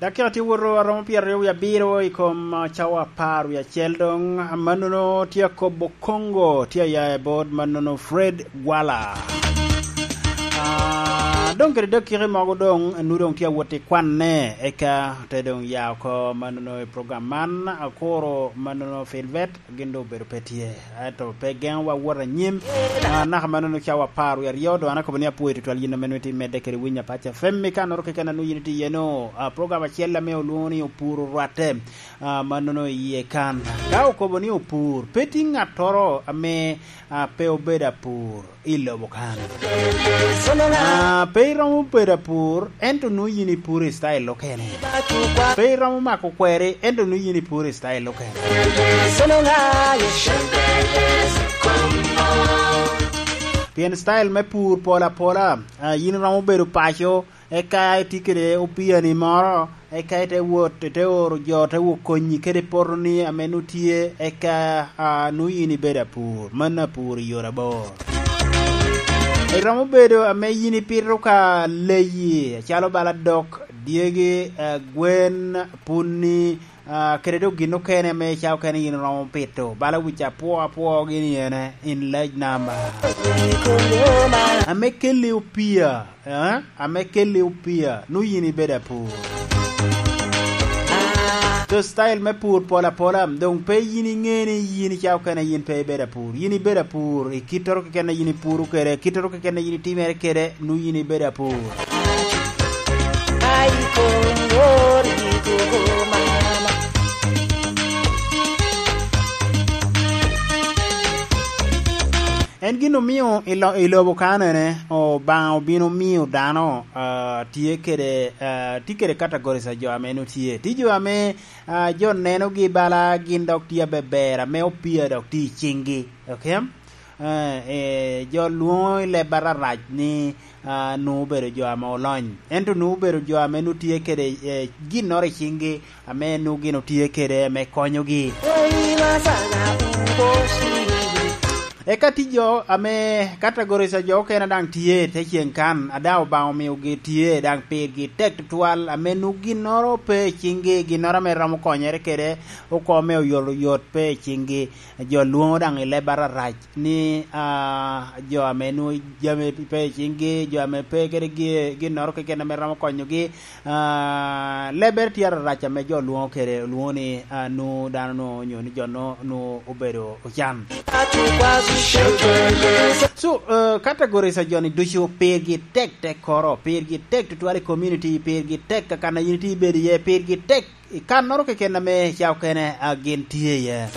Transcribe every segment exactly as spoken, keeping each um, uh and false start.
Dakika tye woto aromo pyeraryo wie abiro i kom, ah, cawa apar wie acel doŋ. Mannono tye akobo Congo, tye aya i bot mannono Fred Gwala. Ah, doŋ kede dakika mogo doŋ, anu doŋ tye awot i kwanne, eka te doŋ ya oko mannono i program man, akuro mannono Filbert. Gin doŋ obedo pe tye, ento pe geŋowa wot anyim. Ah, naka mannono cawa apar wie aryo, doŋ an akobo ni apwoyo tutwal yin ame nwoŋo itye medde kede winyo Apac F M i kannoro keken a nwoŋo yin itye iye-nu. Ah, program acel ame olwoŋo ni Opur Orwatte, ah, mannono iye kan. Ka okobo ni opur, pe tye ŋattoro ame, ah, pe obedo apur i lobo kan. Ah, pe iromo bedo apur, ento nwoŋo yin ipuro i style okene. Pe iromo mako kweri, ento nwoŋo yin ipuro i style okene. Pien style me pur pol apola, ah, yin iromo bedo paco, eka itye kede opiyani moro, eka ite wot, ite oro jo, te wot konyi kede potoni ame nwoŋo tye, eka, ah, nwoŋo yin ibedo apur. Mano apur i yore abor. Iromo bedo ame yin ipito ka leyi, acalo bala dok, dyegi, eh, gwen, puni, ah, kede dok gin okene ame ca okene yin iromo pito, bala wic apwo apwo gini ene, in large number. Ame kelli opia, eh? Ame kelli opia, nwoŋo yin ibedo apur. To style me pur pol apola, doŋ pe yin iŋe ni yin ica okene yin pe ibedo apur. Yin ibedo apur i kittoro keken a yin ipuro kede, kittoro keken a yin itimere kede, nwoŋo yin ibedo apur. En gin omio i lo-, i lobo kanene, Obaŋa obino miyo dano, ah, tye kede, ah, tye kede categories a jo ame nwoŋo tye. Tye jo ame, ah, jo nenogi bala gin dok tye abeber, ame opia dok tye i ciŋgi. Ok? Eh, eh, jo lwoŋo i leb ararac ni, ah, nwoŋo obedo jo ame olony. Ento nwoŋo obedo jo ame nwoŋo tye kede, eh, ginnoro i ciŋgi, ame nwoŋo gin otye kede me konyogi. Eka tye jo ame categories a jo okene daŋ tye te ceŋ kan, a daŋ Obaŋa omiogi tye, daŋ pirgi tek tutwal, ame nwoŋo ginnoro pe i ciŋgi, ginnoro ame romo konyere kede oko me oyotoyot pe i ciŋgi. Jo lwoŋo daŋ i leb ararac ni, ah, jo ame nwoŋo jami pe i ciŋgi, jo ame pe kede gi-, ginnoro keken ame romo konyogi, ah, lebbere tye ararac ame jo lwoŋo kede, olwoŋo ni, ah, nwoŋo dano nwoŋo, onyo ni jo nwoŋo, nwoŋo obedo ocan. So, eh, categories a jo-ni ducu pirgi tek tekkoro, pirgi tek tutwal i community, pirgi tek kakan a yin itye ibedo iye, pirgi tek i kannoro keken ame ca okene, a, gin tye iye.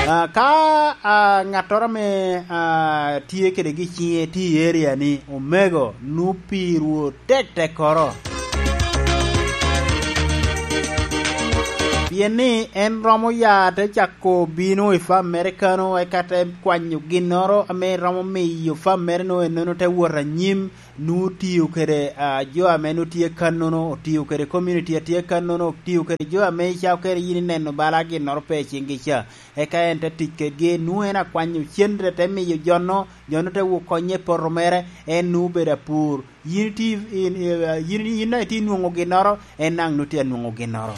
A, ka, a, ŋattoro ame, a, tye kede gi ciŋe tye i area-ni, omego, nwoŋo pirwu tek tekkoro. Pien ni en romo ya te cako bino i fam mere kano, eka te kwanyo ginnoro ame romo miyo fam mere-nu ennono te wot anyim, nwoŋo otio kede, a, jo ame nwoŋo tye kannono, otio kede community a tye kannono, otio kede jo ame ica okene yin ineno bala ginnoro pe i ciŋgi ca. Eka en te tic kedgi, nwoŋo en akwanyo cente te miyo jo-nu, jo-nu te wok konye i poto mere, en nwoŋo obedo apur. Yin itye, in, in, yin, yin daŋ itye nwoŋo ginnoro, en daŋ nwoŋo tye anwoŋo ginnoro.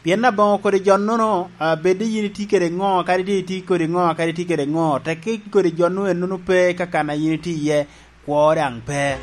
Pien aboŋo kodi jo-nono, a, bed ni yin itye kede ŋo, kadi itye, itye kodi ŋo, kadi itye kede ŋo, tek kodi jo-nu ennono pe kakan a yin itye iye, kwo daŋ pe.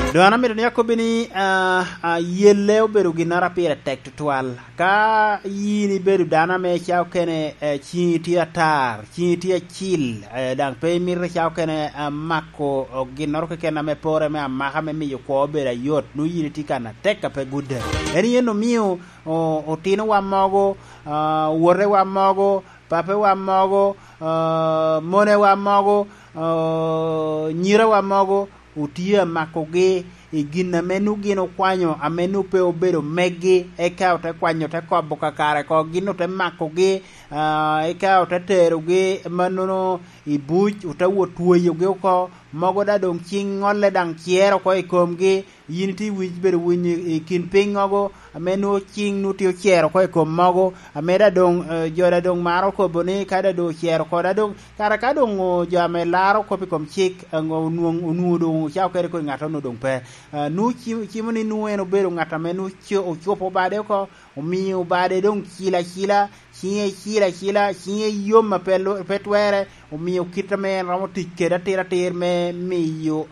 Doŋ an amito ni akobbi ni, a, a, yelle obedo ginnoro a pire tek tutwal. Ka yin ibedo dano ame ca okene, eh, ciŋi tye atar, ciŋi tye acil, eh, daŋ pe imito ca okene, eh, mako, oh, ginnoro keken ame pore me amaka me miyo kwo obedo ayot, nwoŋo yin itye kan atek a pe gudde. En yen omio, oh, otinowa mogo, ah, owotewa mogo, papewa mogo, ah, monewa mogo, ah, nyirawa mogo, otye amakogi i gin ame nwoŋo gin okwanyo, ame nwoŋo pe obedo meggi, eka ote kwanyo, ote kobo kakare oko, gin ote makogi, ah, eka ote terogi mannono i buc, ote wot tweyogi oko, mogo daŋ doŋ ciŋ ŋolle daŋ cero oko i komgi, Yin itye wic bedo winy i kin piny mogo ame nwoŋo cing nwoŋo tye ocero oko i kom mogo, ame da doŋ jo da doŋ maro kobo ni ka da doŋ ocero oko da doŋ kara ka doŋ jo ame laro kop i kom cik onwoŋo doŋ ocako kede kodi ŋat onwoŋo doŋ pe. Nwoŋo cimo ni nwoŋo en obedo ŋat ame nwoŋo ocopo obade oko, omio obade doŋ cilo acila, ciŋe cilo acila, ciŋe yom a pe twere, omio kit ame en romo tic kede atir atir me miyo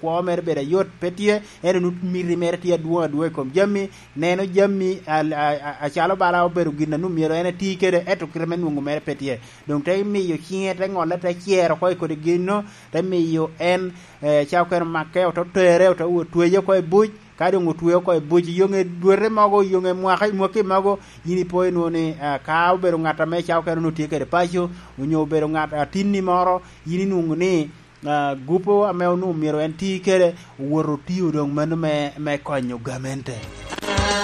kwo mere bedo ayot pe tye, ento nwoŋo miti mere tye adwoŋ adwoŋ i kom jami, neno jami acalo bala obedo gin a nwoŋo myero en eti kede, ento kite me nwoŋo mere pe tye. Doŋ te miyo ciŋe te ŋolle te cero oko i kodi gin-nu, te miyo en ca okene make, ote tere, ote tweye oko i buc, ka doŋ otweo oko i buc, yoŋe dwete mogo, yoŋe mwaka, mwaki mogo, yin ipo inwoŋo ni ka obedo ŋat ame ca okene onwoŋo tye kede paco, onyo obedo ŋat atinni moro, yin inwoŋo ni gupo ame onwoŋo myero en ti kede, owoto otio doŋ mano me konyo gamente.